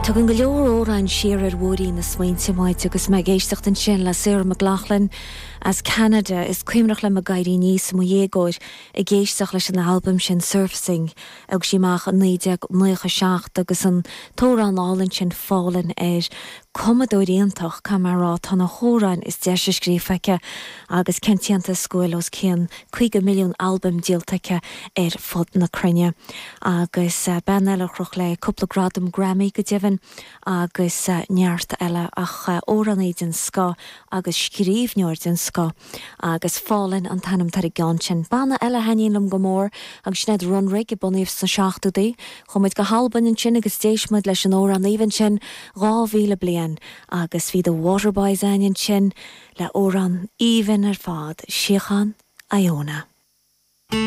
Tugann go leor amhráin siar ar mhúirín na smaointe muid agus mé ag éisteacht ansin le Sarah McLachlan as Ceanada. Is cuimhneach liom ag éirí aníos i mo dhéagóir ag éisteacht leis an albam sin Surfacing a thug sí amach i 1997 agus an t-amhrán álainn sin Fallin' air. Cumadóir iontach, caithfidh mé a rá, tá na hamhráin is deise scríofa aici agus cén t-iontas go bhfuil os cionn 50 milliún albam díolta aici ar fud na cruinne. Agus bean eile a chroch léi cúpla gradam Grammy go deimhin agus neart eile ach amhránaí den scoth agus scríbhneoir den scoth agus Fallin' an t-ainm atá ar an gceann sin. Banna eile a thaitníonn liom go mór agus sin iad Runrig a bunaíodh sna seachtóidí. Chuaigh muid go hAlbain ansin agus d'éist muid leis an amhrán aoibhinn sin 2000 bliain agus bhí The Waterboys againn ansin le amhrán aoibhinn ar fad, Síocháin Iona.